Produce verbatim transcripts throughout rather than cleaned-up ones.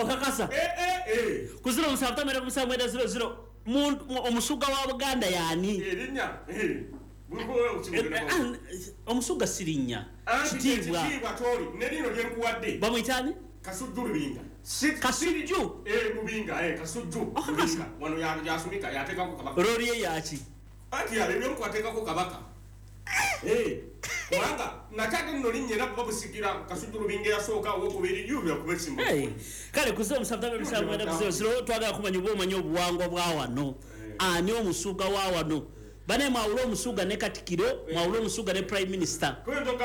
Okakasa ku ziro musanvu ttaano mwenda musanvu mwenda ziro ziro omusuga wa Buganda yaani? Omusuga sirinnya kitiibwa bamuyitaani? Kasujju Lubinga. Kasujju? Eh, Lubinga, eh, Kasujju. Lubinga. Wano yasumika yateekako kabaka. Lori ye yaki? Anti yalebye kwateekako kabaka. Eh, kubanga nakyate nno linnya era babusigira Kasujju Lubinga yasooka owokubiri yubya kuba ekisimba. Kale ku ziro musanvu ttaano musanvu mwenda ziro ziro twagala kumanya oba omanyi obuwangwa bwa wano. Ani omusuga wa wano? Bane mwawule omusuga ne Katikiro, mwawule omusuga ne Prime Minister,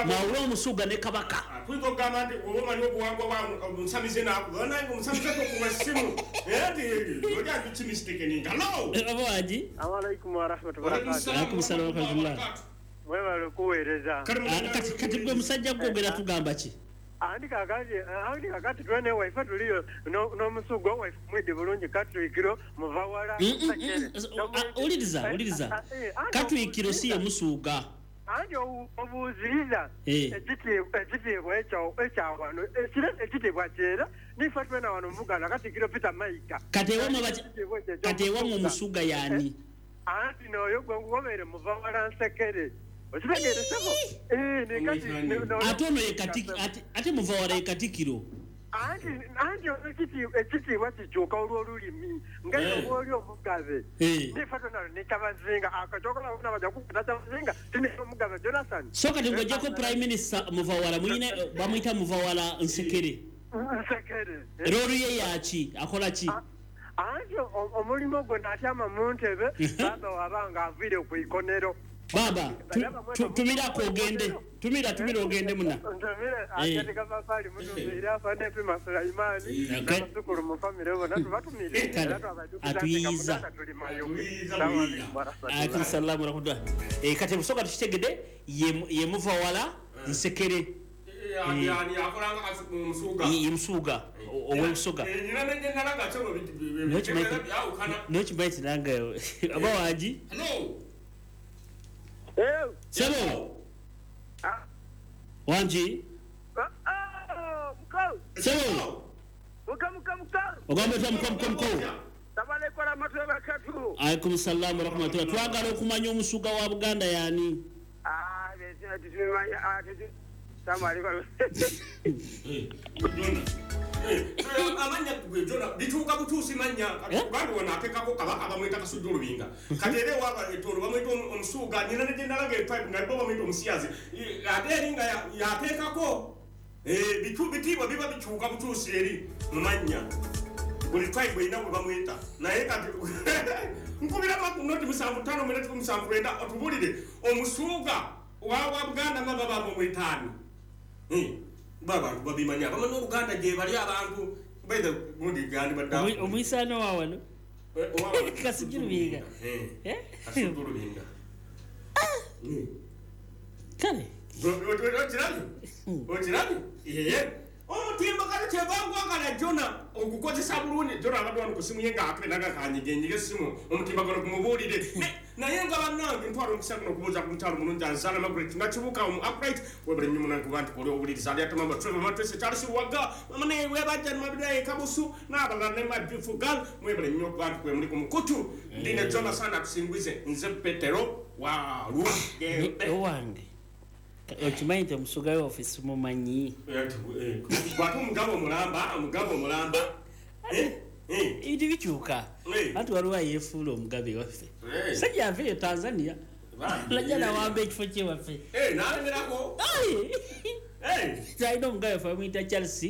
mwawule omusuga ne Kabaka. Tuyinza okugamba nti oba omanyi obuwangwa bwa omusamize naakuba nange omusamize tokuba ssimu. Era nti oli agikimistikeninga. Hello! Oba wangi? Alaikum wa rahmatullahi wa barakatuh. Alaikum salaam wa rahmatullah. Mwebale okuweereza. Kati kati gwe musajja gwogera tugamba ki? Andi kakati andi kakati twene waife tuliyo n'omusuga waife mwidi bulungi Katwikiro muvawala. Uliriza uliriza. Katwikiro si ye musuga. Andi obuuziriza ekitiibwa ekyo ekyawano ekitiibwa kyera nife twena wano muganda Katikiro Peter Mayiga. Kati ewammwe kati ewammwe omusuga yaani? Anti n'oyo gwe nkugobeere muvawala nsekere. Ate ono ye ate muvawala ye Katikiro. Anti anti ekitiibwa kikyuka olw'olulimi nga oli omugabe. Nife twena ne Kyabazinga akatooka bajja kukuta Kyabazinga tine omugabe Jonathan. So kati ng'oggyeko Prime Minister muvawala muyine bamuyita muvawala nsekere. Nsekere. Loori ye yaki akola ki? Anti omulimu gwe n'atyama mu ntebe baba wabanga aviire ku ikonero. Baba, tumira ko ogende. Tumira tumira ogende muna. Ntumire akati kafafali mutumire afande Pima Sulaimani n'abazzukulu mu famire bonna tubatumire. Atuyiza. Alaikum salaam wa rahmatullah. Eh kati busoka tukitegedde ye ye muvawala nsekere. Yani akolanga omusuga. Ye musuga ow'obusoga. Nina nenge nalaga kyono byawukana. N'okimanyi nanga aba wangi? Hello. Eh, Sebo. Ah. Wangi? Ah, mukau. Sebo. Muka muka muka. Ogamba otya muka muka muka. Tabaleko rahmatullahi wa barakatuh. Alaikum salaam wa rahmatullah. Twagala okumanya omusuga wa Buganda yaani? Ah, tusimanya ah Assalamu alaikum. Amanya gwe Jona bituuka butuusi mannya Buganda wano ateekako kabaka bamuyita Kasujju Lubinga. Kati era ewaaba Etoro bamuyita omusuga nina ne gye nalaga etribe nga bo bamuyita omusiyazi ate eri nga yateekako bitiibwa biba bikyuka butuusi eri mu mannya. Buli tribe erina bwe bamuyita naye kati nkubira noti musanvu ttaano mwenda kikumi musanvu lwenda otubuulire omusuga wa Buganda nga baba bamuyitaani. Abantu babimanya bamanyi Oluganda gye bali abantu baitha gundi gandi badda omuyisano wa wano Kasujju Lubinga. Kasujju Lubinga. Kale okirabye okirabye omutimbagano kyebangwagala Jona ogukozesa bulungi. Jona abadde wano ku ssimu ye ng'akenaga kanyigenyige essimu omutimbagano gumubuulire naye nga bannange ntwala omukisa guno okubuuza ku mukyalo mulungi Anzala Margaret Nakibuuka omu upright webale nnyo munange kuba nti koli owuliriza ali ate mama Trevor Matrese Charles Luwaga mama naye webajja Mabiraye Kabusu n'abalala ne my beautiful girl mwebale nnyo okuba nti kwe muli ku mukutu. Ndi ne Jonathan atusinguize nze Petero Walugembe owange. Okimanyi nti omusuga w'ofiisi mumanyi. Bw'ate omugabo omulamba omugabo omulamba ebintu bikyuka. Anti waliwo ayeefuula omugabe waffe. Sajja ava eyo Tanzania najja nawamba ekifo kye waffe. N'alemerako. Alina omugabe waffe bamuyita Charles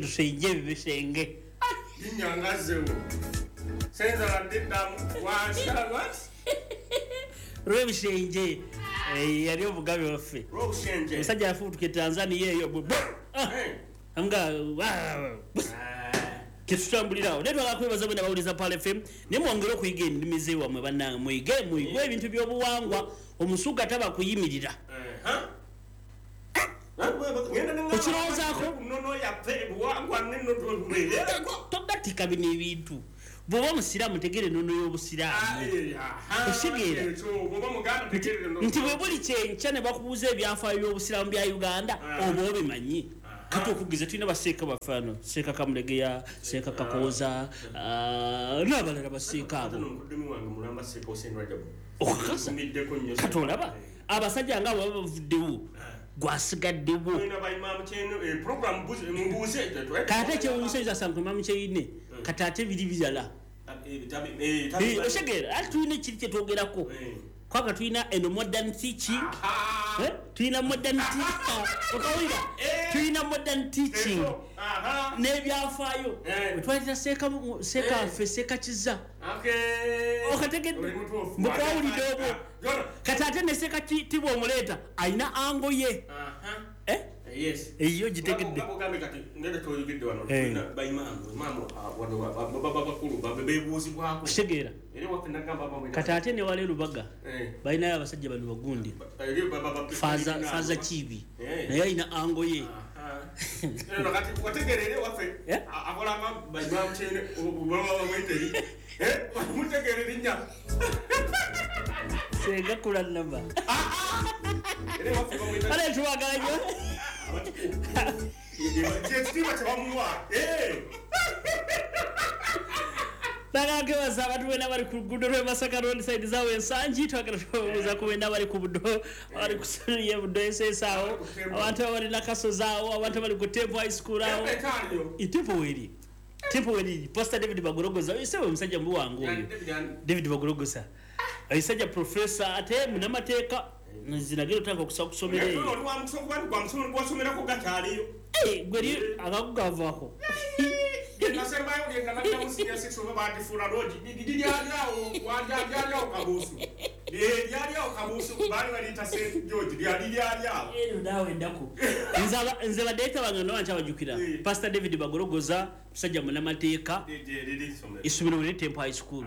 Rushenje Bishenge. Linnya Senzala ndiddamu wansala Rwebishenje yali omugabe waffe. Omusajja yafuutuka e Tanzania eyo nga ketutambulirawo. Naye twagala kwebaza bwena bawuliza Pearl F M naye mwongere okuyiga ennimi z'ewammwe bannange muyige muyige ebintu by'obuwangwa. Omusuga taba kuyimirira. Okirowoozaako togatika bino ebintu. Bw'oba omusiraamu tegeera ennono y'obusiraamu. Okitegeera nti bwe buli kyenkya ne bakubuuza ebyafaayo by'obusiraamu bya Uganda oba obimanyi. Kati okugiza tulina baseeka bafaano, Seeka Kamulegeya, Seeka Kakooza, n'abalala baseeka abo. Okakasa kati olaba abasajja nga abo bavuddewo gwasigaddewo. Kati ate ekyewuunyisa asanga Imaamu Kyeyune kati ate biri birala. Otegeera ate tulina ekiri kye twogerako kwaka tulina eno modern teaching, tulina modern teaching, okawulira tulina modern teaching n'ebyafaayo. Wetwalira seeka seeka ffe Seeka Kiza okategedde mbukwawulidde obwo. Kati ate ne Seeka Tibwa omuleeta alina ango ye eyo gitegedde. Kitegeera kati ate ne wala e Lubaga balinayo abasajja bano bagundi Faaza Kiibi naye alina ango ye. Senga kulanama ale tuwagala nnyo. Bagakebaza abantu bena bali ku luguudo lw'e Masaka road side zaabwe Ensangi, twagala tubabuuza ku bena bali ku Buddo, abali ku ssomero ly'e Buddo S S awo, abantu abali Nakasozi awo, abantu abali ku Temple High School awo. Temple weeri, Temple weeri, Pastor David Bagologoza, oyo ssebo omusajja mubi wange oyo. David Bagologoza. Omusajja professor ate munnamateeka, nzinagenda otandika okusaba kusomera eyo. Gwe eri akagu gavaako. Naawe ennaku. Nze badeeta bange nno nkyabajjukira. Pastor David Bagologoza, musajja munnamateeka, essomero liri Temple High School,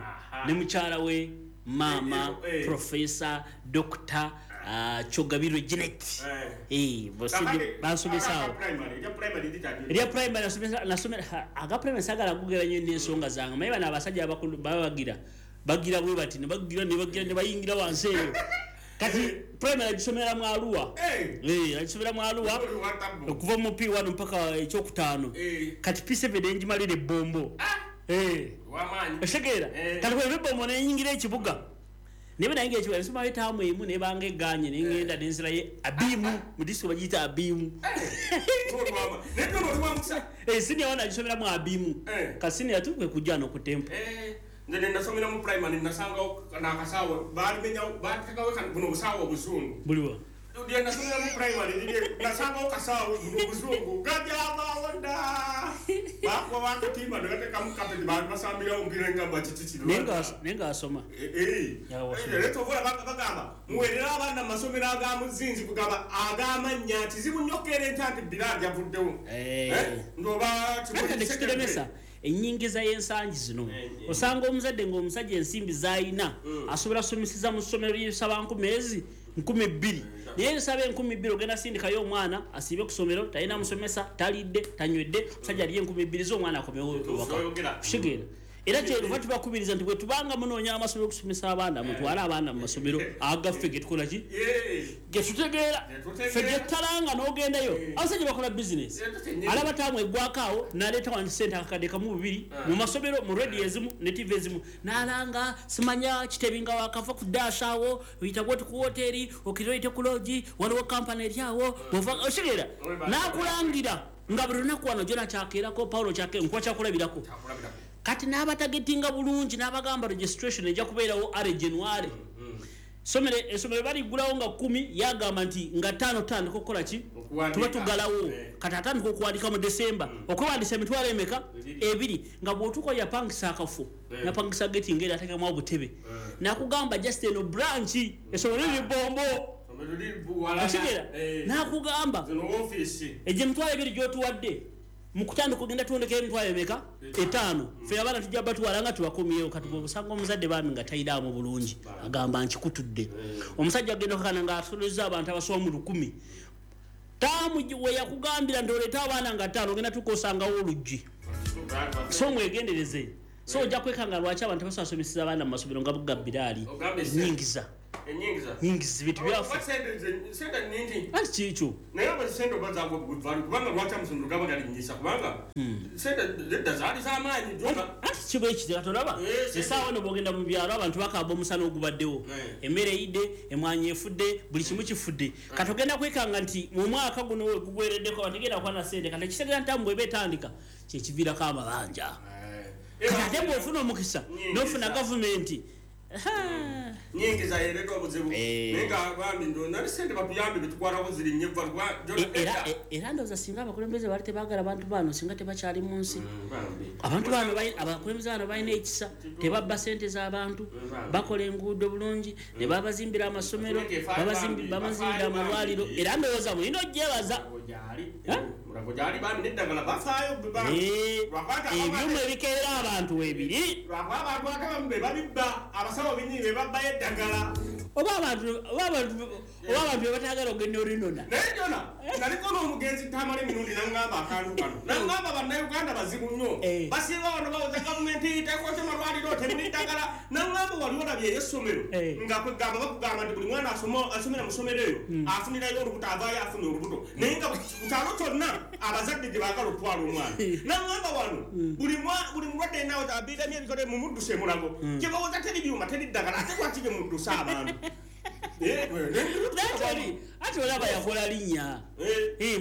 ne mukyala we maama professor Doctor Kyogabirwe Janet. Eh, bansomesaawo. Erya primary nasomera aga primary saagala kugera nnyo n'ensonga zange. Naye bano abasajja abakulu baba bagira bagira bwe bati ne bagira ne bagira ne bayingira wansi eyo. Kati primary agisomera mu Arua. Eh, agisomera mu Arua okuva mu P one mpaka ekyokutaano. Kati P seven engimalira ebbombo. Eh. Otegeera kati bwe ebbombo nenyingira ekibuga. Nebe nayingira ekibuga nsomayo ettaamu emu nebanga egganye ne ngenda nenzirayo Abimu, mu disitulikiti bagiyita Abimu. Eh, senior one agisomera mu Abimu. Ka senior two kwe kujja no ku Temple. Nze nasomera mu primary nasangawo n'akasawo baalimenyawo baateekawo buno obusawo obuzungu. Buliwa? Lye nasomera mu primary nasangawo kasawo buno obuzungu gajabaawo dda. Baakuba bakatimba ne bateekamu kapeti baali basambirawo omupiira ngamba kiki kino. Naye ng'asoma. Era ky'ova bagamba muweerere abaana mu masomero aga muzinzi kugamba ag'amannya kizibu nnyo okukeera enkya nti Bilal yavuddewo. Nti oba kitulemesa ennyingiza y'ensangi zino. Osanga omuzadde ng'omusajja ensimbi z'alina asobola kusomeseza mu ssomero ly'esaba nkumi ezi nkumi bbiri. Naye nsaba enkumi bbiri ogenda sindikayo omwana asiibe ku ssomero, talina musomesa, talidde, tanywedde, omusajja alye enkumi bbiri z'omwana akomewo ewaka. Kitegeera. Era kyetuva tubakubiriza nti bwe tubanga munoonya amasomero okusomesa abaana, mutwale abaana mu masomero agaffe ge tukola ki? Ge tutegeera. Ffe ge tutalanga n'ogendayo. Abasajja bakola bizinesi. Alaba taamu eggwako awo n'aleeta wano ssente akakadde kamu bubiri mu masomero, mu rediyo ezimu ne T V ezimu. N'alanga simanya Kitebi nga wakava ku dash awo, oyita bw'oti ku woteeri, okira oyite ku loogi, waliwo kampani eri awo, bw'ova otegeera. N'akulangira nga buli lunaku wano Jona kyakeerako, Paulo kyakeerako, nkuwa kyakulabirako. Kati n'abatagetinga bulungi n'abagamba registration ejja kubeerawo are January. Somero essomero baliggulawo nga kkumi, yagamba nti nga ttaano tutandika okukola ki? Tuba tuggalawo. Kati atandika okuwandiika mu December. Okwewandiisa emitwalo emeka? Ebiri. Nga bw'otuuka yapangisa akafo, yapangisa geti ng'era ateekamu obutebe. N'akugamba just eno branch, essomero liri Bombo. Otegeera? N'akugamba egyo emitwalo ebiri gy'otuwadde mu kutandika ogenda tuwondekayo emitwalo emeka? Etaano. Ffe abaana tujja batwala nga tubakomyewo. Kati bw'osanga omuzadde bambi nga tayinaamu bulungi, agamba nkikutudde. Omusajja agenda okukakana ng'asolozza abantu abasoba mu lukumi. Taamu we yakugambira nti oleete abaana nga ttaano, ogenda tuuka osangawo oluggi. So mwegendereze. So ojja kwekanga lwaki abantu basobola kusomeseza abaana mu masomero nga buga Biraali nnyingiza. Enyingiza. Nyingiza bintu byafa. Sente nyingi. Anti kikyo. Naye aba sente oba zaagwa bugvalu kubanga lwaki amasomero gaba galinyisa kubanga sente zedda zaali z'amaanyi jona. Anti kiba ekitera tolaba. Essaawa eno bw'ogenda mu byalo abantu bakaaba omusana ogubaddewo. Emmere eyidde, emmwanyi efudde, buli kimu kifudde. Kati ogenda kwekanga nti mu mwaka guno we gugwereddeko abantu tegenda kuba na ssente. Kati ekitegeeza nti bw'eba etandika kyekiviirako amabanja. Kati ate bw'ofuna omukisa n'ofuna gavumenti nyingiza yereeta obuzibu naye nga bambi nali ssente batuyambe betukwatako ziri nnyo era era ndowooza singa abakulembeze baali tebaagala bantu bano singa tebakyali mu nsi. Abantu bano abakulembeze bano balina ekisa, tebabba ssente z'abantu, bakola enguudo bulungi, ne babazimbira amasomero, babazimbira amalwaliro. Era ndowooza mulina ogyebaza. Ebyuma ebikeera abantu weebiri. Abantu ate abamu be babibba, abasawo bennyini be babbayo eddagala. Oba abantu oba abantu oba abantu be bataagala ogenda olinona. Naye Jona, naliko n'omugenzi Tamale Mirundi n'aŋŋamba akantu kano. N'aŋŋamba bannayuganda bazibu nnyo. Basinga wano bawoza gavumenti tekoze malwaliro temuli ddagala. N'aŋŋamba wali olabye ey'essomero nga kwegamba bakugamba nti buli mwana asomera mu ssomero eyo afunirayo olubuto avaayo afuna olubuto. Naye nga ku kyalo kyonna abazadde gye baagala okutwala omwana. N'aŋŋamba wano buli mulwadde yenna abiiramye ebikole mumudduse Mulago. Gye bawoza teri byuma teri ddagala ate lwaki gye muddusa abantu? Ati olaba yakola linnya.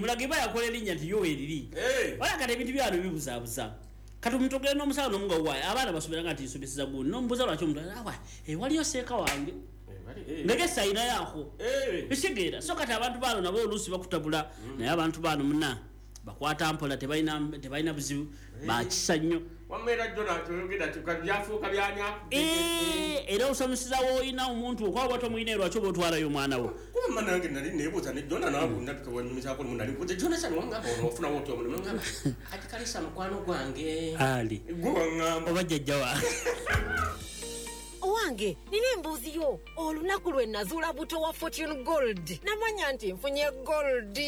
Mulago eba yakola erinnya nti yo weeriri. Wala kati ebintu byano bibuzaabuza. Kati omuntu ogenda n'omusawo n'omuga waayi abaana basomera nga nti nsomeseza gundi n'omubuuza lwaki omuntu awa waliyo seeka wange. Ngegesa ayinayo ako. Ekitegeera. So kati abantu bano nabo oluusi bakutabula naye abantu bano munna bakwata mpola tebalina buzibu bakisa nnyo. Wamera Jona toyogera byafuuka byanya. Era osomeseza w'olina omuntu okwaba tomuyina lwaki oba otwalayo omwana wo. Kuba nange nali neebuuza ne Jona naabunda tukawanyumizaako lumu nali nkuze Jona sani wangamba ono ofunawo otya omulimu ngamba ati kalisa mukwano gwange. Ali. Gwe wangamba. Oba jjajja wange. Owange, nina embuzi yo. Olunaku lwe nazuula buto wa Fortune Gold. Namanya nti nfunye gold.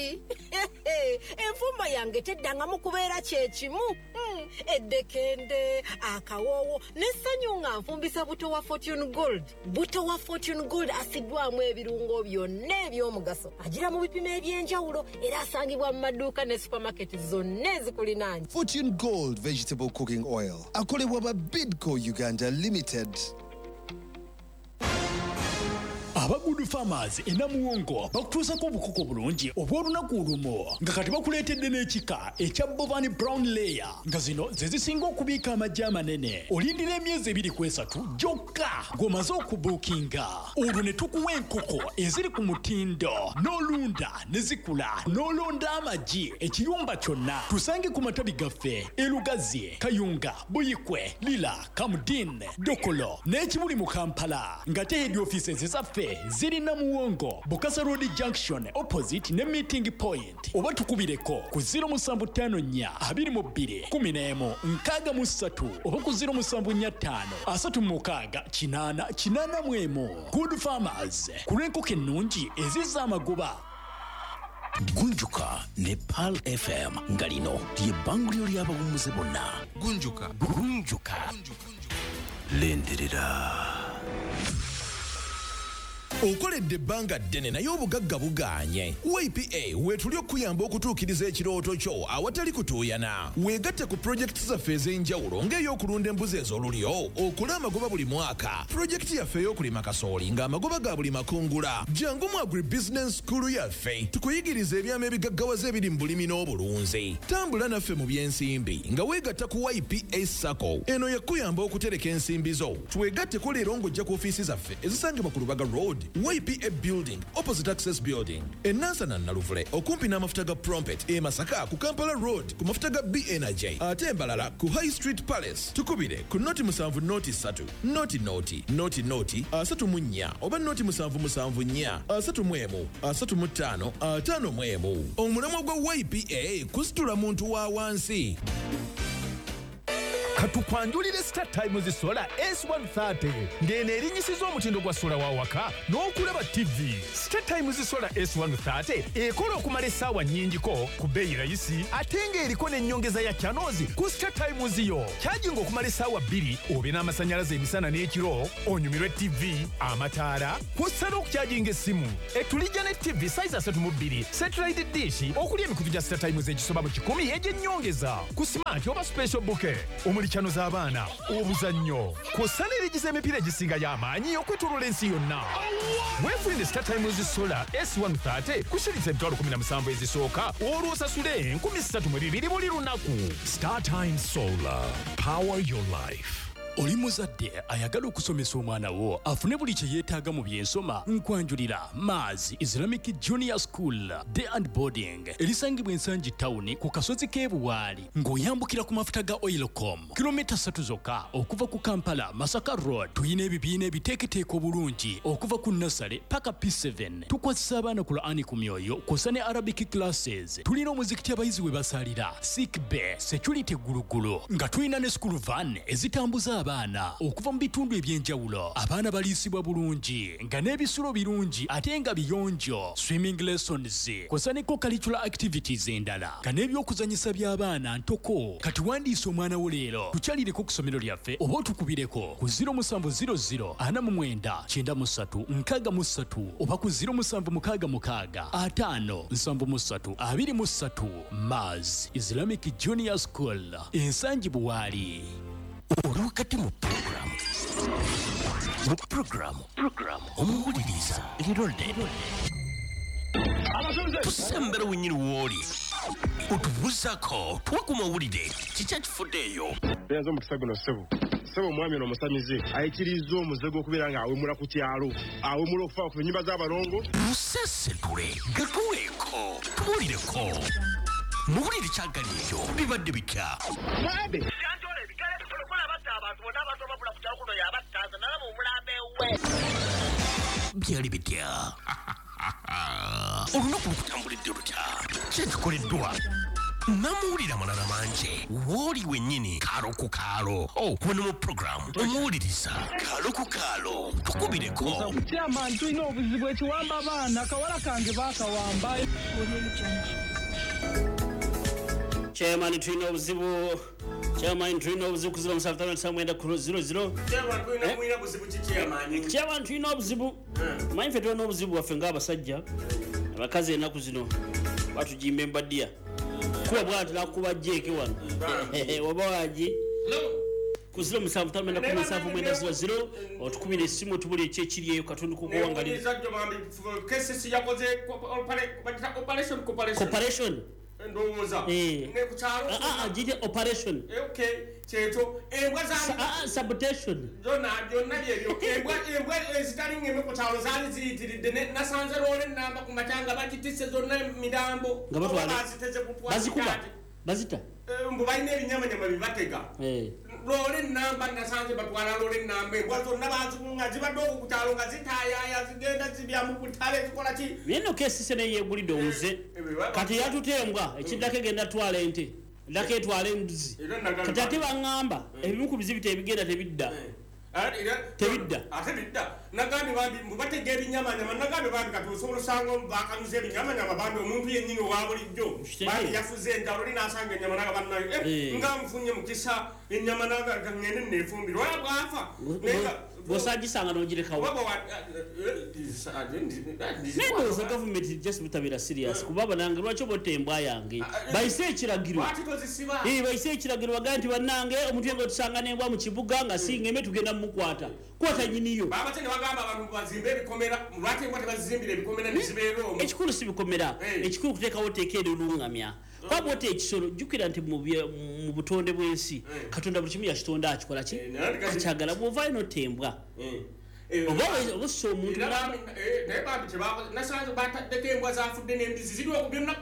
Enfumba yange teddangamu kubeera kyekimu. Eddekende, akawoowo, n'essanyu nga nfumbisa buto wa Fortune Gold. Buto wa Fortune Gold asiddwamu ebirungo byonna eby'omugaso. Agira mu bipimo eby'enjawulo era asangibwa mu maduuka ne supermarket zonna ezikulinaanye. Fortune Gold Vegetable Cooking Oil. Akolebwa ba Bidco Uganda Limited. Aba Good Farmers e Namuwongo bakutuusako obukoko bulungi obw'olunaku olumu nga kati bakuleetedde n'ekika ekya Bovani Brown Layer nga zino ze zisinga okubiika amagi amanene. Olindira emyezi ebiri ku esatu gyokka ng'omaze okubuukinga, olwo ne tukuwa enkoko eziri ku mutindo n'olunda ne zikula n'olonda amagi ekiyumba kyonna. Tusange ku matabi gaffe e Lugazi, Kayunga, Buyikwe, Lira, Kamudin, Dokolo n'ekibuli mu Kampala nga te head offices zaffe ziri Namuwongo, Bukasa Road Junction opposite ne meeting point. Oba tukubireko ku zero musanvu ttaano nnya abiri mu bbiri kumi n'emu nkaaga mu ssatu oba ku zero musanvu nnya ttaano asatu mu mukaaga kinaana kinaana mu emu. Good Farmers ku lw'enkoko ennungi ezizza amagoba. Gunjuka ne Pearl F M nga lino ly'ebbanguliro ly'abawummuze bonna. Gunjuka. Gunjuka. Lindirira. Okoledde ebbanga ddene naye obugagga bugaanye. Y P A weetuli okuyamba okutuukiriza ekirooto kyo awatali kutuuyana. Weegatte ku pulojekiti zaffe ez'enjawulo ng'ey'okulunda embuzi ez'olulyo, okola amagoba buli mwaka. Pulojekiti yaffe ey'okulima kasooli ng'amagoba ga buli makungula. Jangu mu Agribusiness School yaffe tukuyigirize ebyama ebigaggawaza ebiri mu bulimi n'obulunzi. Tambula naffe mu by'ensimbi nga weegatta ku Y P A SACCO. Eno yakuyamba okutereka ensimbi zo. Twegatteko leero ng'ojja ku ofiisi zaffe ezisangibwa ku Lubaga Road, Y P A Building, opposite Access Building. E Nansana Naluvule, okumpi n'amafuta ga Prompet, e Masaka ku Kampala Road, ku mafuta ga B N J, ate Mbalala ku High Street Palace. Tukubire ku noti musanvu noti ssatu, noti noti, noti noti, asatu mu nnya, oba noti musanvu musanvu nnya, asatu mu emu, asatu mu ttaano, ataano mu emu. Omulamwa gwa Y P A kusitula muntu wa wansi. Katukwanjulire Star Times Solar S one thirty ng'eno erinnyisiza omutindo gwa sola wa waka n'okulaba T V. Star Times Solar S one thirty ekola okumala essaawa nnyingiko ku bbeeyi rayisi ate ng'eriko n'ennyongeza ya channels ku Star Times yo. Kyajinga okumala essaawa bbiri obe n'amasannyalaze emisana n'ekiro, onyumirwe T V, amataala, kw'ossa n'okukyajinga essimu. Etulijja ne T V size asatu mu bbiri, satellite dish okuli emikutu gya Star Times egisoba mu kikumi egy'ennyongeza ku smart oba special bouquet omuli channel z'abaana, obuzannyo, kw'ossa n'erigiza emipiira egisinga y'amaanyi okwetooloola ensi yonna. Weefunire Star Times Solar S one thirty ku shilingi emitwalo kumi na musanvu ezisooka olwo osasule enkumi ssatu mu bibiri buli lunaku. Star Times Solar, power your life. Oli muzadde ayagala okusomesa omwana wo afune buli kye yeetaaga mu byensoma, nkwanjulira Mars Islamic Junior School Day and Boarding erisangibwa Ensangi Town ku kasozi k'e Buwaali ng'oyambukira ku mafuta ga Oilcom kilomita ssatu zokka okuva ku Kampala Masaka Road. Tuyina ebibiina ebiteeketeeka obulungi okuva ku nursery paka P seven. Tukwasisa abaana Qur'ani ku myoyo kw'ossa ne Arabic classes. Tulina omuzikiti abayizi we basalira, sick bay, security gulugulu, nga tulina ne school van ezitambuza abaana okuva mu bitundu ebyenjawulo. Abaana baliisibwa bulungi nga n'ebisulo birungi ate nga biyonjo, swimming lessons kw'ossa ne co-curricular activities endala nga n'ebyokuzannyisa by'abaana ntoko. Kati wandiisa omwana wo leero, tukyalireko ku ssomero lyaffe oba otukubireko ku zero musanvu zero zero ana mu mwenda kyenda mu ssatu nkaaga mu ssatu oba ku zero musanvu mukaaga mukaaga ataano nsanvu mu ssatu abiri mu ssatu. Mars Islamic Junior School, Ensangi Buwaali. Oli wakati mu program mu program program omuwuliriza Leronde tusembera wenyini wooli otubuuzako tuwe ku mawulire kiki ekifuddeeyo. Nze omukisa guno ssebo ssebo omwami ono omusamize ayikiriza omuze gw'okubeera ng'awemula ku kyalo, awemula okufa ku nnyumba z'abalongo. Musesetule gatuweeko tubuulireko muwulire kyagali ekyo bibadde bitya. Byali bitya? Olunaku lukutambulidde lutya? Kyekikoleddwa namuwulira malala mangi wooli wennyini kaalo ku kaalo. Wano mu puroguramu omuwuliriza kaalo ku kaalo tukubireko. Chairman, tulina obuzibu ekiwamba abaana, akawala kange baakawamba. Chairman, tulina obuzibu. Chairman, tulina obuzibu ku zero musanvu ttaano mwenda ku zero zero. Chairman, tulina mulina buzibu ki chairman? Chairman, tulina obuzibu. Manyi ffe tulina obuzibu bwaffe ng'abasajja. Abakazi ennaku zino batugimba embaddiya. Kuba bw'ati nakuba jeeke wano. Oba waagi? Ku zero musanvu ttaano mwenda kumi musanvu mwenda zero zero otukubira essimu otubulire ki ekiri eyo Katonda kukuwangalira. K C C yakoze operation Corporation. Ndowooza ne ku kyalo ah ah gite operation. Okay, kyekyo embwa za ah sabotation byonna byonna byebyo embwa embwa ezitali ngeme ku kyalo zaali ziyitiridde nasanze loole ennamba ku makyanga bagitisse zonna mirambo nga batwala baziteze kutwala bazikuba bazita mbu balina ebinyamanyama bibatega loole ennamba nasanze batwala loole ennamba embwa zonna bazikunga zibadde okwo ku kyalo nga zitaayaaya zigenda zibya mu butale zikola ki. Naye nno K C C naye yeegulidde omuze kati yatuta embwa ekiddako egenda twala ente eddako etwala embuzi kati ate baŋŋamba ebimu ku bizibu tebigenda tebidda tebidda ate bidda. Nagambye bambi mbu batega ebinyamanyama, nagambye bambi kati osobola osanga bakanyuza ebinyamanyama bambi omuntu yennyini owa bulijjo bambi yafuze enjalo oli n'asanga ennyama naga bannayo nga nfunye mukisa ennyama naga ngende neefumbira oya bw'afa bw'osagisanga n'ogirekawo. Naye ndowooza gavumenti just butabeera serious kuba banange lwaki oba otta embwa yange bayise ekiragiro bayise ekiragiro bagambe nti bannange omuntu yenga otusanga n'embwa mu kibuga nga si ngeme tugenda mumukwata kwata nnyiniyo. Babate ne bagamba abantu bazimbe ebikomera lwaki embwa tebazizimbira ebikomera ne zibeera omwo. Ekikulu si bikomera, ekikulu kuteekawo tteeka erirungamya. Kuba bw'otta ekisolo jjukira nti mu butonde bw'ensi Katonda buli kimu yakitonda akikola ki akyagala. Bw'ovaayo n'otta embwa oba ossa omuntu naye bambi nasanze bataddeko embwa zafudde n'embizi ziri okwo byonna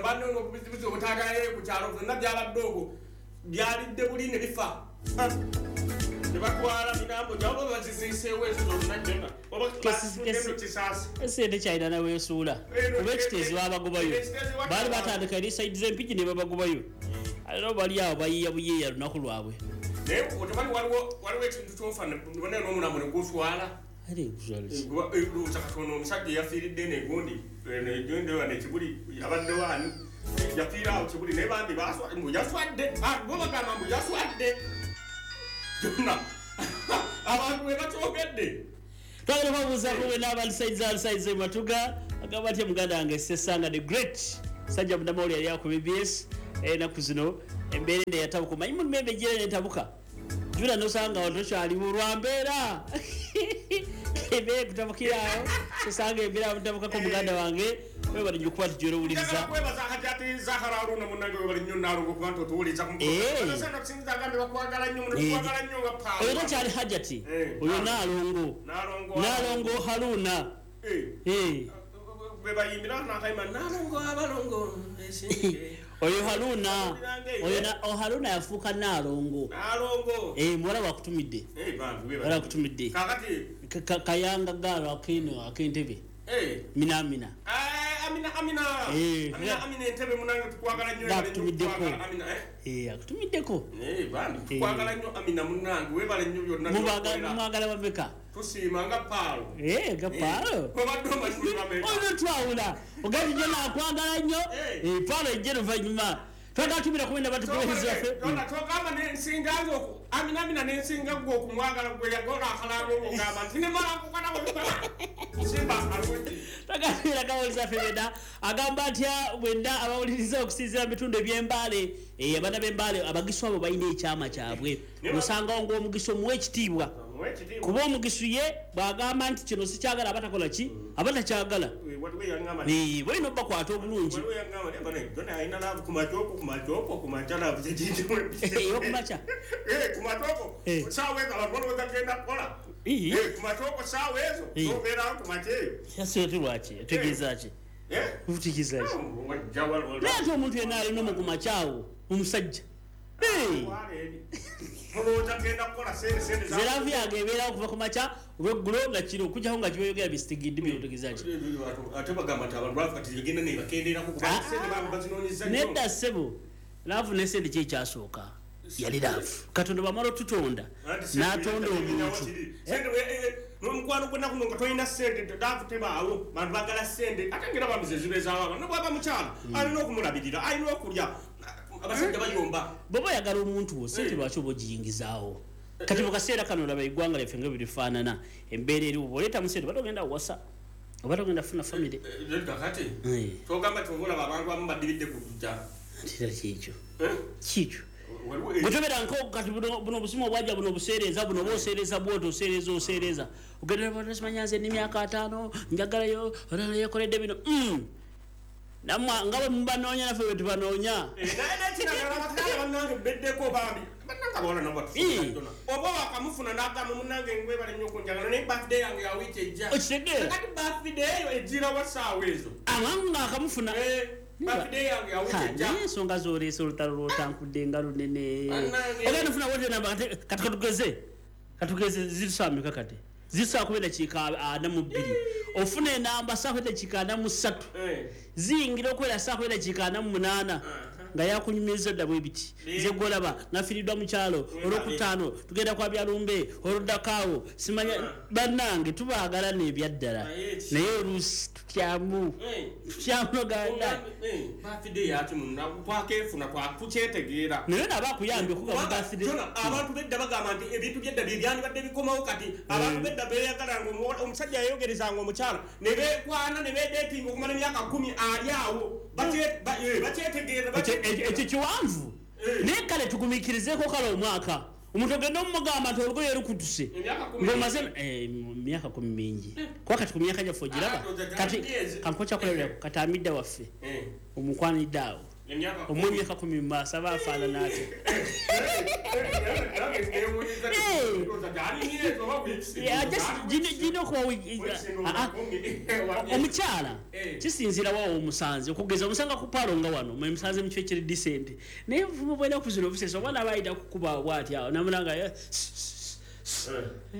banoobuzibuzi obutaagalayo ku kyalo byonna byabadde okwo byalidde buli ne bifa tebatwala mirambo gyabo baziziiseewo ezo zonna gyonna esente kyalina naweesuula kuba ekiteezi babagobayo baali batandika eri sayidi z'empigi ne babagobayo. Alero bali awo bayiya buyiya lunaku lwabwe. Naye otomanyi waliwo waliwo ekintu kyofa ne n'omulambo ne guswala. Ate guswala ki? Lowooza katono omusajja eyafiiridde negundi negundi wano ekibuli abadde waani yafiira awo kibuli naye bambi mbu yaswadde bo bagamba mbu yaswadde byonna abantu bwe bakyogedde. Twagala kubabuuzaako bwenna abalisaiza alisaiza matuga agamba atya muganda wange Ssesanga the Great sajja munnamawulire yali ku B B S ennaku zino embeera eno eyatabuka omanyi mulimu embeera netabuka jula nosanga awo tokyaliwo lwa mbeera embeera ekutabukira awo osanga embeera mutabukako muganda wange webale nnyo okuba nti gy'olowuliriza. Kwebaza Hajati Zahara Haruna munnange webale nnyo Nalongo okuba nti otuwuliriza ku bakwagala nnyo tukwagala nnyo nga paawo. Oyo takyali Hajati oyo Nalongo Nalongo Haruna be bayimbira n'akayimba Nalongo abalongo oyo Haruna oyo Haruna yafuuka Nalongo. Nalongo eh muwala wakutumidde eh bambi muwala wakutumidde kakati kayanga galo akeno ak'entebe eh mina mina eh amina amina amina amina entebe munange tukwagala nnyo akutumiddeko amina eh eh akutumiddeko eh bambi tukwagala nnyo amina munange webale nnyo byonna mubagala mwagala bameka tusiima nga paalo eh nga paalo obadde omanyi bameka oyo twawula ogazi nnyo nakwagala nnyo eh paalo ejje luvannyuma twagala tumira kumenda batukuweereza ffe tona togamba nensinga nze amina amina nensinga gwe okumwagala gwe yagola akalango ng'ogamba nti nemala nkukana simba alungi twagala kawuliriza ffe bwena agamba atya bwenna abawuliriza okusinziira mu bitundu eby'Embaale abaana b'Embaale abagisu abo balina ekyama kyabwe osangawo ng'omugisu omuwa ekitiibwa kuba omugisu ye bw'agamba nti kino sikyagala aba takola ki aba takyagala balina obbakwata obulungi okumakya lwaki otegeeza ki otegeeza ki naye ate omuntu yenna alina omukumakyawo omusajja Zeravu yange ebeerawo okuva ku makya olweggulo nga kiro okujjako nga kibayogera bisitigidde byotegeeza ki nedda ssebo laavu ne ssente ki ekyasooka yali laavu Katonda bw'amala otutonda n'atonda omuntu n'omukwano gw'ennaku nga tolina ssente laavu tebaawo bantu baagala ssente ate ngera bambi ze zibeezaawo abantu ne bw'aba mukyala alina okumulabirira alina okulya abasajja bayomba bw'oba oyagala omuntu wo ssente lwaki oba ogiyingizaawo kati mu kaseera kano olaba eggwanga lyaffe nga bwe lifaanana embeera eriwo bw'oleetamu ssente oba togenda kuwasa oba togenda kufuna famire kati togamba nti oba olaba abantu abamu badiridde ku kujja ntera kiikyo kiikyo bwe nko kati buno obusimu obwajja buno obuseereza buno oba oseereza bw'oti oseereza oseereza ogenda simanya nze n'emyaka ataano njagalayo yekoledde bino namwe nga bwe mubanoonya naffe bwe tubanoonya naye bannange beddeko bambi bannange abawala nabo batufuuna oba wakamufuna n'agamba munnange ngwebale nnyo okunjagala naye birthday yange ya wiiki ejja okitegeera kati birthday eyo ejjirawa ssaawa ezo amangu ng'akamufuna birthday yange ya wiiki ejja naye ensonga z'oleese olutalo lw'otankudde nga lunene ogenda ofuna wote namba kati katugeze katugeze zirisaameka kati zirisaa kuba eddakiika ana mu bbiri ofuna enamba saa kuba eddakiika ana mu ssatu ziyingira okubeera saa kuba eddakiika ana mu munaana nga yakunyumiriza dda bwe biti nze gwolaba nafiiriddwa mu kyalo olwokutaano tugenda kwa byalumbe oluddako awo simanya bannange tubaagala n'ebyaddala naye oluusi tutyamu tutyamu noganda naye naba akuyambye okugamba abantu bedda bagamba nti ebintu byedda bye byandibadde bikomawo kati abantu bedda beeyagalanga omusajja yayogerezanga omukyala ne beekwana ne beedeetinga okumala emyaka kkumi ali awo bakyetegeera ekyo kiwanvu naye kale tugumiikirizeeko kale omwaka omuntu ogenda omumugamba nti olugoye lukutuse ng'omaze myaka kumi mingi kuba kati ku myaka gyaffe ogiraba kati kankokyakulabirako kati amidda waffe omukwanidde awo omu emyaka kumi mu maaso aba afaanana atya gina okuba omukyala kisinziira waawo omusanze okugeza omusanga ku paalo nga wano musanze mu kifo ekiri decent naye bwena okuzina obusese omwana aba ayita kukuba bwati awo namulanga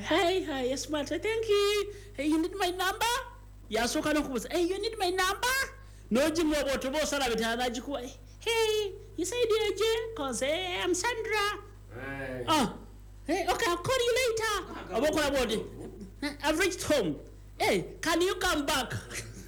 hi hi yes smart thank you hey, you need my number yasooka n'okubuuza hey, you need my number n'ogimuwa bw'otoba osala bitala n'agikuwa Hey, you said you're J, cause hey, I'm Sandra. Hey. Oh, hey, okay, I'll call you later. Oba okola bw'oti, I've reached home. Hey, can you come back?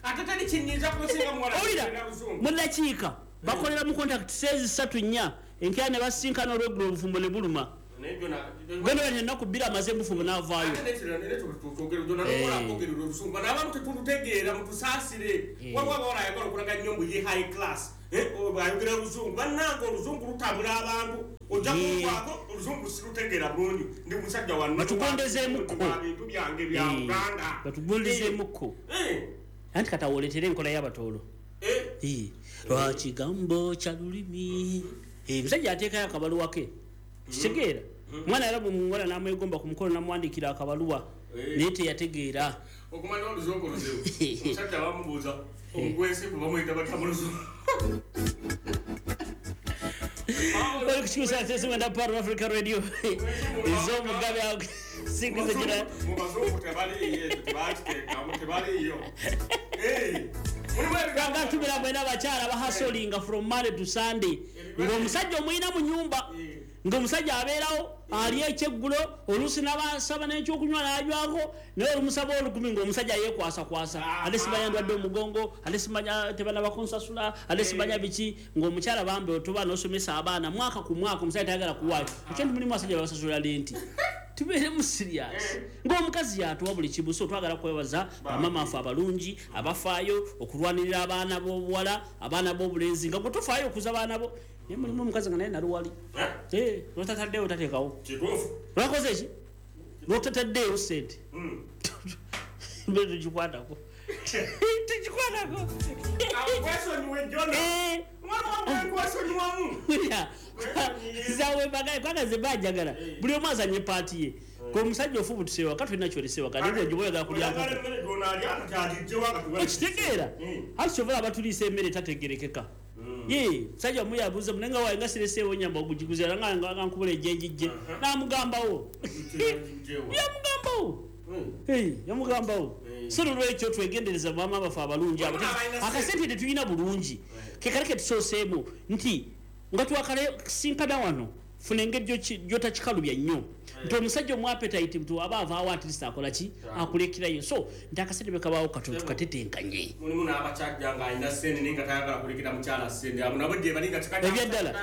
Ate teri kinyiza kusinga muwala Owulira kwogera luzungu. Mu ddakiika bakolera mu contact sezi ssatu nnya, enkya ne basinkana olweggulo, obufumbo ne buluma. Naye Jona, Genda bati ennaku bbiri amaze bufumbo n'avaayo. Ate nekirala, nekyo twogera, Jona, n'okola kwogera oluzungu. Bano abamu tetulutegeera, mutusaasire. Waliwo abawala ayagala okulaga nnyo mbu ye high class. Eh, ayogera oluzungu. Bannange, oluzungu lutabula abantu. Ojja kuggwako, oluzungu sirutegeera bulungi. Ndi musajja wa nnono. Batugondezeemukko. Bintu byange bya Eh. Uganda. Batugondezeemukko. Eh. Anti kati awo oleetere enkola y'abatoolo. Eh. Eh, lwakigambo kya lulimi. Eh, omusajja ateekayo akabaluwa ke. Kitegeera? Mwana era bwe muwala n'amwegomba ku mukolo n'amuwandiikira akabaluwa, Eh. naye teyategeera. Okumanya oluzungu luzibu. Omusajja bamubuuza omugwensigo bamuyita batya mu luzungu. Oli ku kikusa sesi mwenda Power of Africa Radio. Ez'omugabe awo singizo gira. Mu bazungu tebaliiyo ekyo, tebakiteekamu, tebaliiyo. Eh, mulimu ebigambo. Gatumira mwena abakyala bahasolinga from Monday to Sunday. Ng'omusajja omuyina mu nnyumba, ng'omusajja abeerawo alya ekyeggulo, oluusi n'abasaba n'ekyokunywa n'anywako, naye olumusaba olukumi ng'omusajja yeekwasakwasa. Ate simanya ndwadde omugongo, ate simanya tebanaba kunsasula, ate simanya biki, ng'omukyala bambi otuba n'osomesa abaana mwaka ku mwaka omusajja tayagala kuwaayo. Ekyo nti mulimu abasajja babasasula lenti. Tubeeremu serious. Ng'omukazi yatuwa buli kimu, so twagala kwebaza bamaama ffe abalungi abafaayo okulwanirira abaana b'obuwala, abaana b'obulenzi, nga gwe tofaayo okuza abaana bo. Naye mulimu omukazi nga naye naluwali. Eh, lw'otataddeewo tateekawo. Kituufu. Lwakoze ki? Lw'otataddeewo ssente. Mbe tukikwatako. Tukikwatako. Akwesonyiwe Jona. Eh. Mwana wange nkwesonyiwamu. Wulira. Zawe bagaye kubanga nze mba njagala. Buli omu azanye paati ye. Gwe omusajja ofubutuse waka, tulina kyolese waka, naye gwe oyagala kulya nkoko. Oyagala emmere gy'onaalya, kati agigye waka tugale. Okitegeera? Ati kyova olaba tuliisa emmere tategerekeka. Ye, musajja omu yabuuza naye nga waayo nga sireseewo nnyama ogugiguze, era nga nga nkubula ejjenjijje. N'amugambawo. Yamugambawo. Hey, yamugambawo. So nolwekyo twegendereza bamaama baffe abalungi abo. Akasente tetulina bulungi. Ke kale ke tusooseemu nti nga twakasinkana wano, funa engeri gy'oki- gy'otakikalubya nnyo. Nti omusajja omu appetite nti aba avaawo at least akola ki? Akulekerayo. So nti akasente bwe kabaawo katono tukatetenkanye. Mulimu n'abasajja ng'alina ssente naye nga tayagala kulekera mukyala ssente. Abo nabo gye bali nga kika Ebyaddala.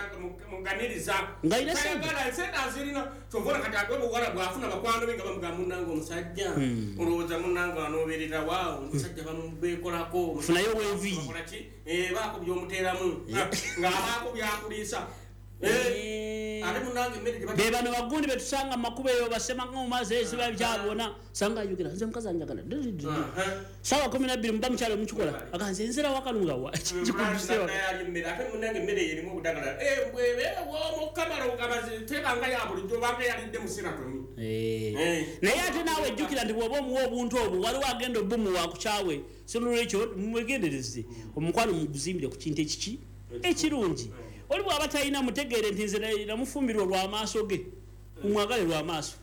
Muganiriza. Ng'alina ssente. Tayagala, ssente azirina. Kyova olaba kati ate obuwala bw'afuna bakwano be nga bamugamba munnange omusajja. Hmm. Olowooza munnange anooberera wa? Omusajja bamubeekolako. Funayo w'enviiri. Bakola ki? Eh, baako by'omuteeramu. Ng'abaako by'akuliisa. Eh, ate munnange emmere gye Be bano bagundi be tusanga mu makubo eyo basemanga mu maaso esiba byabona. Sanga ayogera, nze omukazi anjagala. Ssaawa kumi na bbiri muba mukyalo mukikola. Aga nze nzira waka lunga wa. Kikuduse waka. Emmere ate munnange emmere erimu obudagala. Eh, bwebe w'omukamala obugabazi tebanga ya bulijjo obanga yalidde mu seratoni. Eh. Naye ate naawe jjukira nti bw'oba omuwa obuntu obwo waliwo agenda obumuwa akukyawe. So nolwekyo mwegendereze. Omukwano muguzimbire ku kintu ekiki ekirungi. Oli bw'aba talina mutegeere nti nze namufumbirwa lw'amaaso ge. Mumwagale lw'amaaso.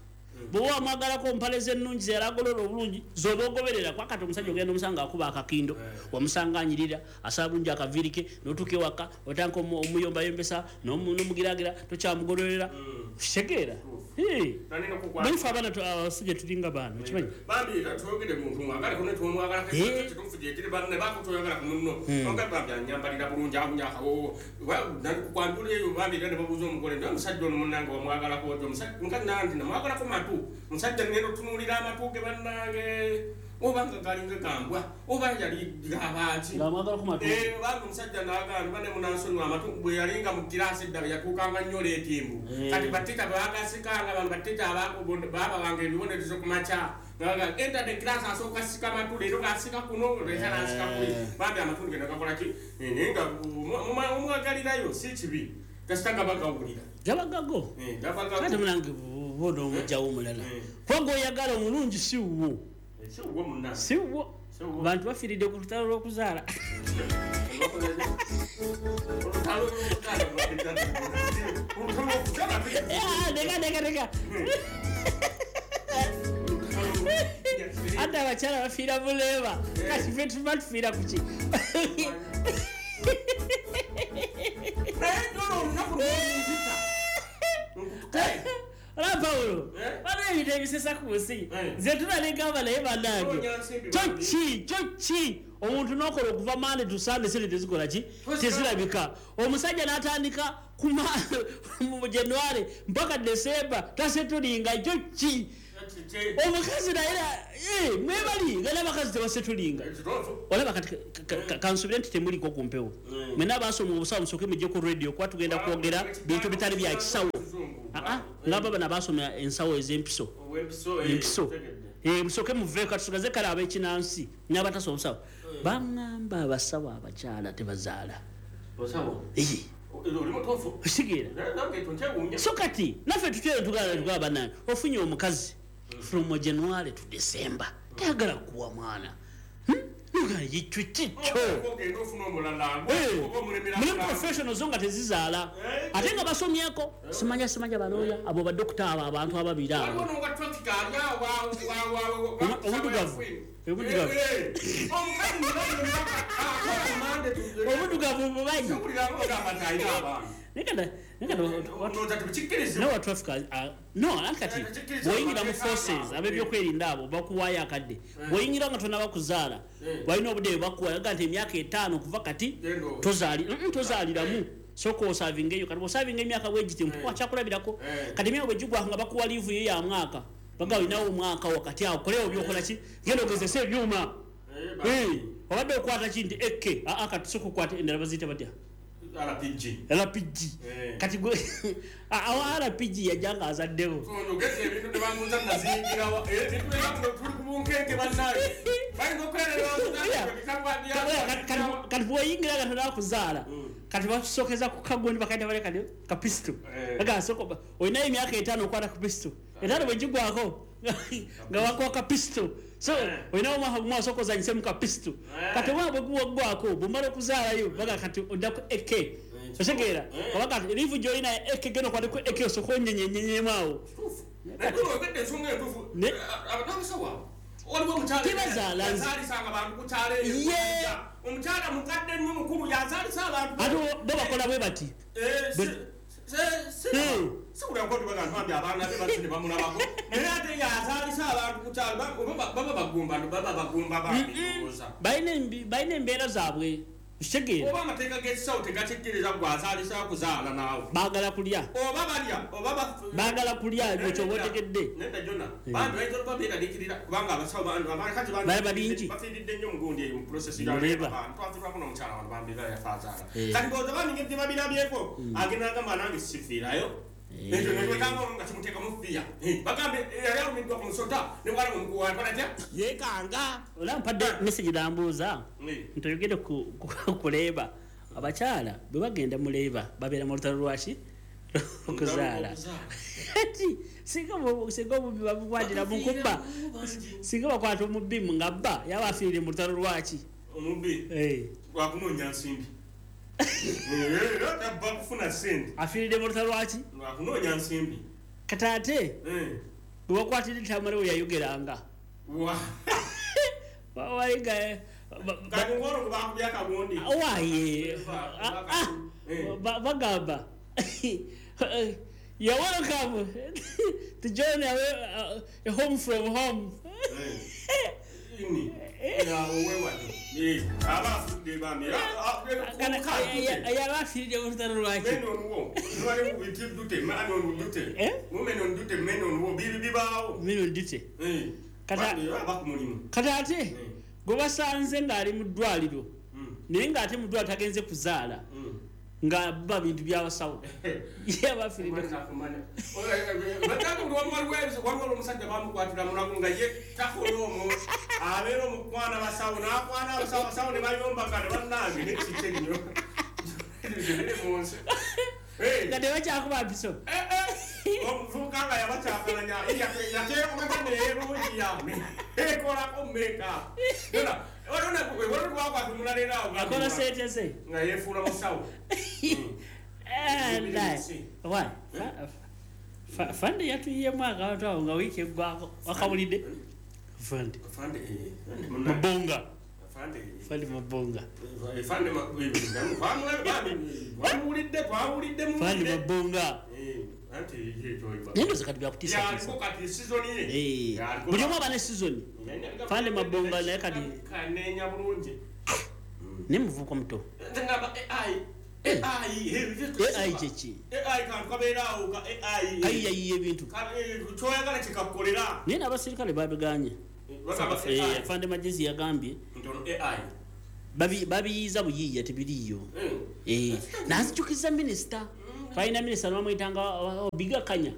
Bw'oba wamwagalako mpale ze ennungi ze yalagolola obulungi z'oba ogoberera, kuba kati omusajja ogenda omusanga akuba akakindo, wamusanga anyirira, asaba bulungi akaviiri ke, n'otuuka ewaka otandika omu-, omuyombayombesa, n'omu-, n'omugiraagira, tokyamugololera. Kitegeera? Eh. Manyi ffe abaana tu-, abasajja tulinga baana, okimanyi? Bambi twogere muntu mwagale kuno twomwagala Eh. kituufu gye kiri banne baako toyagala ku munno. Hmm. Onga bambi anyambalira bulungi awunya akawoowo. Kwanjula eyo bambi era ne babuuza omugole nti omusajja ono munnange wamwagalako otya? Omusajja mukazi nange namwagalako matu. Omusajja ngenda otunuulira amatu ge bannange. Oba nga galinga gambwa, oba yali gabaaki. Ng'amwagalako matu. Eh, bambi omusajja n'agamba nti banne munansonyiwa amatu bwe yalinga mu kiraasi edda yatuukanga nnyo leetimbu. Eh. Kati batteeka baagasikanga bano batteeka baabawanga ebibonerezo ku makya. Nga enter the class asooka sika matu leero g'asika kuno leero n'asika kuli. Bambi amatu ge nagakola ki? Eh, naye nga omwagalirayo si kibi. Kasita gaba gawulira. Gaba gago. Eh, gaba gago. Kati munange bona omugyawo omulala. Kuba gw'oyagala omulungi si wuwo. Si wuwo munnange. Si wuwo. Bantu bafiiridde ku lutalo lw'okuzaala. Olutalo lw'okuzaala. Olutalo lw'okuzaala. Ah, neka, neka, neka. Ate abakyala bafiira mu leeba. Kati ffe tuba tufiira ku ki? Paulo bano ebintu ebisesa ku nsi nze tunalegamba naye bannange kyoki kyoki omuntu n'okola okuva Monday to Sunday sente tezikola ki tezirabika omusajja n'atandika mu January mpaka December tasetulinga kyoki omukazi naye mwebali nga n'abakazi tebasetulinga olaba kati kansubire nti temuliko ku mpewo mwena abasoma obusawo musooke mujje ku radio kuba tugenda kwogera bintu bitali bya kisawo nga baba nabasoma ensawo ez'empiso empiso musooke muveeko katusigaze kale ab'ekinansi n'abatasoma obusawo baŋŋamba abasawo abakyala tebazaala kitegeera so kati naffe tutera tugala tugaba bannange ofunye omukazi from January to December tayagala kuwa mwana kikyo muli professionals nga tezizaala ate nga basomyeko simanya simanya balooya abo badokita abo abantu ababiri abo obudugavu obudugavu obudugavu bubanyi no traffic no ankati bwoyingira mu forces ab'ebyokwerinda abo bakuwaayo akadde bwoyingira nga tonaba kuzaala balina obudde bakuwa aga nti emyaka etaano kuva kati tozaaliramu sooka osavinga eyo kati bw'osavinga emyaka bwegiti mpuwa kyakulabirako kati emyaka bwe gigwako nga bakuwa liivu yo ya mwaka baga olinawo omwaka wakati awo kolewo byokola ki genda ogezese ebyuma obadde okwata ki nti eke aa kati sooka okwata endala baziyita batya R P G R P G kati gwe awo R P G yajja azaddewo kati bw'oyingira nga tonaba kuzaala kati bakusokeza ku kagundi bakayita bale kati ka pistol agasoko olinayo emyaka etaano okwata ku pistol etaano bwe gigwako nga wakuwa ka pistol so olinawo omwaka gumu asooka ozanyisemu ka pistol kati omwaka bwe guwaggwako bw'omala okuzaalayo baga kati oddaku A K otegeera oba kati liivu gy'olina A K genda okwate ku A K osooka onyenyenyenyemu awo tebazaala omukyala mukadde nnyo mukulu yazaalisa abantu ate bo bakola bwe bati balina embeera zaabwe kitegeera oba amateeka g'ekisawo tegakikkiriza gwe azaalisa kuzaala naawe baagala kulya oba balya oba baagala kulya ekyo oba otegedde nedda jona bantu bayinza okuba beeraliikirira kubanga abasawo abakazi bangi bafiiridde nnyo omugundi eyo mu process twafirwako n'omukyala wano bambi era yafa azaala kati ndowooza bandi ngeri gye babirabyeko agenda agamba nange sifiirayo ekyo netwekanga olwo nga kimuteekamu fiya bagambe yali alumiddwa ku musota ne bwala omukuwakola tya yeekanga ola mpadde message nambuuza nti oyogere ku leeba abakyala bwe bagenda mu leeba babeera mu lutalo lwaki okuzaala ati singa singa omubbi bamukwatira mu kubba singa bakwata omubbi nga bba yaba afiire mu lutalo lwaki omubbi lwakunoonya nsimbi afiiridde mu lutalo lwaki lwakunoonya nsimbi kati ate bwe bakwatira Tamale we yayogeranga waye bagamba you're welcome to join a home from home. Kati ate gwe basanze ng'ali mu ddwaliro naye ng'ate mu ddwaliro tagenze kuzaala nga bba bintu by'abasawo yabafiiridde waliwo omusajja bamukwatira mulago nga ye takola omwo abeera omukwana basawo n'akwana abasawo abasawo ne bayombaka ne bannange nekikye nnyo biri mu nsi nga tebakyakuba mpiso omuvubuka nga yabakyakalanya yateekomeka neerungiya ekolako makeup akola sente ze nga yeefuula musawo fande yatuyiyemu akantu awo nga wiiki eggwako wakawulidde fande mabonga fande mabonga fande mabonga Naye ndowooza kati byakutiisatiisa. Buli omu aba ne season. Fande Mabonga naye kati kanenya bulungi. Naye muvubuka muto. Ngamba A I A I A I kyeki? A I kantu kabeeraawo ka A I. Kayiyayiya ebintu. Kyoyagala kikakukolera. Naye n'abasirikale babiganye. Fande Magezi yagambye A I babiyiiza buyiiya tebiriiyo. Nanzijukiza minisita. Twalina minisita bamuyitanga Obiga Kanya.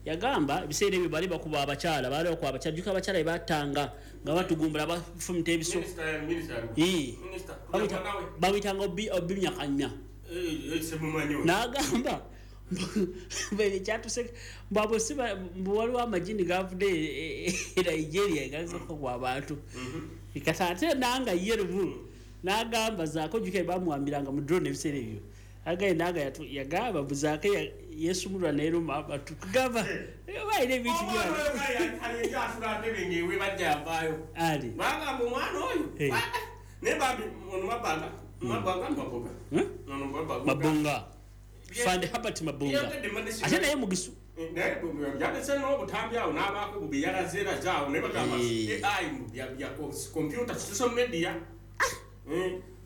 Yagamba ebiseera ebyo bali bakuba abakyala, baali bakuba abakyala, jjuka abakyala bebattanga nga batugumbula bafumita ebiso. Bamuyitanga Obimyakanya. N'agamba ekyatuse mbwabo si waliwo amagini gavudde e Nigeria gazokogwa abantu. Kati ate nanga ye lumu n'agamba Zaako, jjuka bamuwambiranga mu drone ebiseera ebyo. Agaye nanga yagamba mbu Zaako yesumulwa n'eruma abantu. Kugamba balina ebintu Ali. Bagamba omwana oyo. Naye bambi ono Mabanga, Mabanga Mabonga. Mabonga. Fande Herbert Mabonga. Ate naye mugisu. Naye yalese n'obutambi awo n'abaako bubi yalaze eraze awo naye bagamba A I bya computer social media.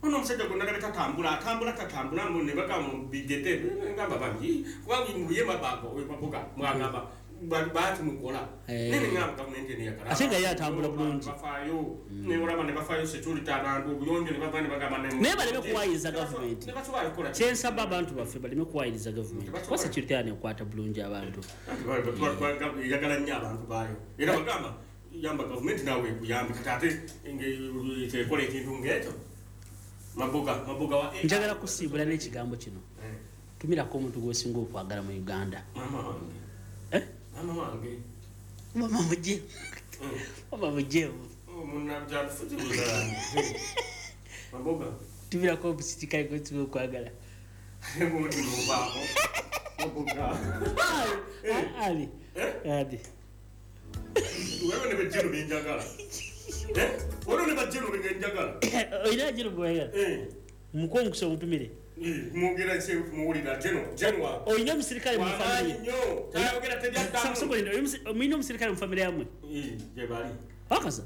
Ono omusajja gwe nalabye tatambula, atambula tatambula mbu ne bagamba bigete ngamba bambi kubanga mbuye Mabanga oyo Maboga mwagamba baati mukola. Naye ngamba gavumenti eno eyagala. Ate nga ye atambula bulungi. Bafaayo ne olaba ne bafaayo security abantu obuyonjo ne bava ne bagamba naye baleme kuwayiriza gavumenti. Kyensaba abantu baffe baleme kuwayiriza gavumenti. Kuba security yano ekwata bulungi abantu. Eyagala nnyo abantu baayo. Era bagamba yamba gavumenti naawe ekuyambe kati ate tekola ekintu ng'ekyo. Maboga, Maboga wa njagala kusiibula n'ekigambo kino. Tumirako omuntu gw'osinga okwagala mu Uganda. Mama wange. Eh? Mama wange. Mama mujje. Mama mujje. Omunabyabufuzi bulala. Maboga. Tumirako omusirikale gw'osinga okwagala. Omuntu mubaako. Maboga. Ali. Ali. Wewe ne bejjero byenjagala. Eh? Waliwo ne bajjero benjagala. Olina jjero gw'oyagala? Mukuwa omukisa omutumire. Mwogera ki muwulira jeno jenwa. Olina omusirikale mu famire. Nnyo. Tayogera tebyaddamu. Mulina omusirikale mu famire yammwe? Gye bali. Bakasa?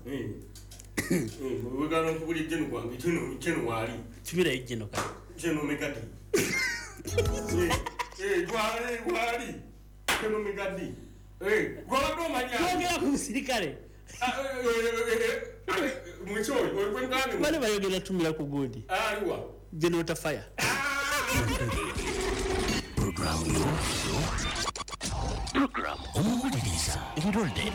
Wegala nkubulira jeno gwange jeno jeno waali. Tumirayo jeno kale. Jeno Megadi. Eh gwali gwali. Jeno Megadi. Eh gwabadde omanya. Twogera ku musirikale. Bale bayogera tumira ku gundi. Aliwa. Jeno tafaya. Program Program omuwuliriza endwadde.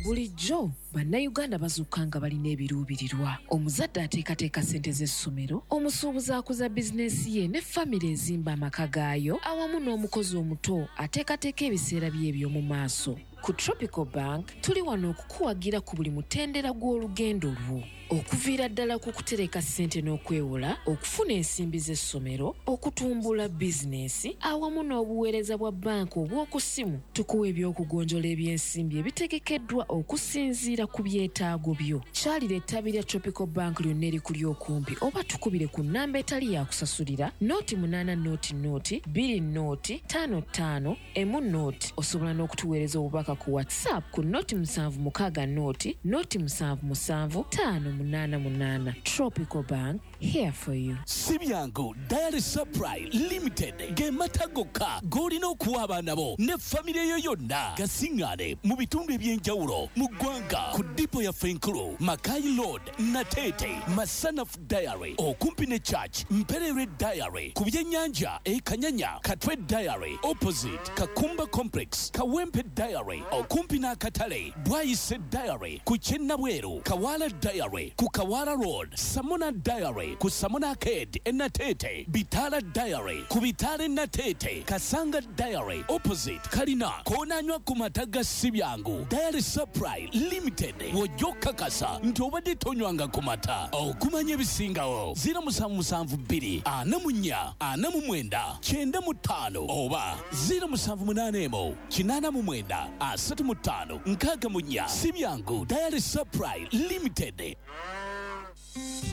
Bulijjo bannayuganda bazuuka nga balina ebiruubirirwa. Omuzadde ateekateeka ssente z'essomero, omusuubuzi akuza bizinensi ye ne famire ezimba amaka gaayo, awamu n'omukozi omuto ateekateeka ebiseera bye eby'omu maaso. Ku Tropical Bank tuli wano okukuwagira ku buli mutendera gw'olugendo lwo. Okuviira ddala ku kutereka ssente n'okwewola, okufuna ensimbi z'essomero, okutumbula bizinensi, awamu n'obuweereza bwa banka obw'oku ssimu. Tukuwa eby'okugonjola ebyensimbi ebitegekeddwa okusinziira ku byetaago byo. Kyalira ettabi lya Tropical Bank lyonna erikuli okumpi oba tukubire ku nnamba etali yakusasulira nooti munaana nooti nooti bbiri nooti ttaano ttaano emu nooti. Osobola n'okutuweereza obubaka ku WhatsApp ku nooti musanvu mukaaga nooti nooti musanvu musanvu ttaano munaana munaana. Tropical Bank, here for you. Si byangu Dairy Supply Limited ge mata gokka g'olina okuwa abaana bo ne famire yo yonna gasiŋŋaane mu bitundu eby'enjawulo mu ggwanga ku dipo yaffe enkulu Makai Road, Natete, Masanaf Dairy okumpi ne Church, Mperere Dairy ku byennyanja e Kanyanya, Katwe Dairy opposite Kakumba Complex, Kawempe Dairy okumpi n'akatale, Bwayise Dairy ku Kyennabweru, Kawala Dairy ku Kawala Road, Samona Dairy ku Samona Arcade e Natete, Bitala Dairy ku Bitale Natete, Kasanga Dairy opposite Kalina, koonanywa ku mata ga Sibyangu. Dairy Supply Limited w'ojja okukakasa nti obadde tonywanga ku mata. Okumanya ebisingawo ziro musanvu musanvu bbiri ana mu nnya ana mu mwenda kyenda mu ttaano oba ziro musanvu munaana emu kinaana mu mwenda asatu mu ttaano nkaaga mu nnya. Sibyangu Dairy Supply Limited.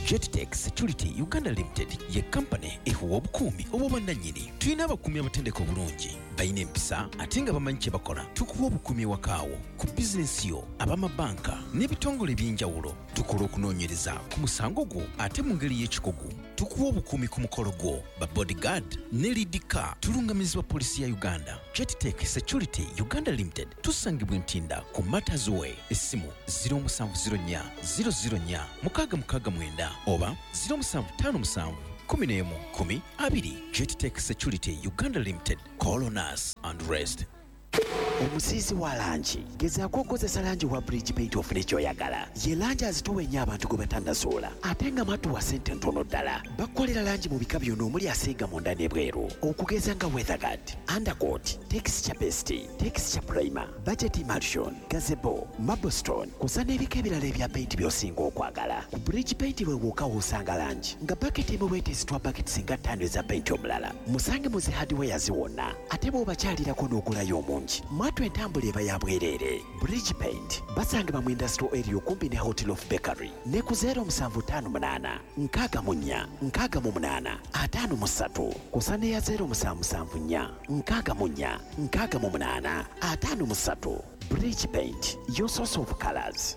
Jettech Security Uganda Limited ye kampani ekuwa obukuumi obw'obwannannyini. Tulina abakuumi abatendeka obulungi, balina empisa ate nga bamanyi kye bakola. Tukuwa obukuumi ewakaawo, ku bizinensi yo, ab'amabanka n'ebitongole eby'enjawulo. Tukola okunoonyereza ku musango gwo ate mu ngeri y'ekikugu. Tukuwa obukuumi ku mukolo gwo, ba bodyguard ne lead car. Tulungamizibwa poliisi ya Uganda. Jettech Security Uganda Limited tusangibwa Ntinda ku Matters Way. Essimu zero musanvu zero nnya zero zero nnya mukaaga mukaaga mwenda oba zero musanvu ttaano musanvu kumi n'emu kumi abiri. Jettech Security Uganda Limited. Call on us and rest. Omusiizi wa langi, gezaako okukozesa langi wa Bridge Paint ofune ky'oyagala. Ye langi azitowa ennyo abantu gwe batannasoola, ate nga mwattu wa ssente ntono ddala. Bakukolera langi mu bika byonna omuli asiiga munda n'ebweru, okugeza nga Weatherguard, Undercoat, Texture Paste, Texture Primer, Budget Emulsion, Gazebo, Marblestone, kw'ossa n'ebika ebirala ebya paint by'osinga okwagala. Ku Bridge Paint we wokka w'osanga langi nga baketi emu bw'eteesitwa baketi singa ttaano eza paint omulala. Musange mu zi hardwares wonna, ate bw'obakyalirako n'ogulayo omungi, mwattu entambula eba ya bwereere. Bridge Paint basangibwa mu industrial area okumpi ne Hotel of Bakery ne ku zero musanvu ttaano munaana nkaaga mu nnya nkaaga mu munaana ataano mu ssatu kw'ossa n'eya zero musanvu musanvu nnya nkaaga mu nnya nkaaga mu munaana ataano mu ssatu. Bridge Paint, your source of colors.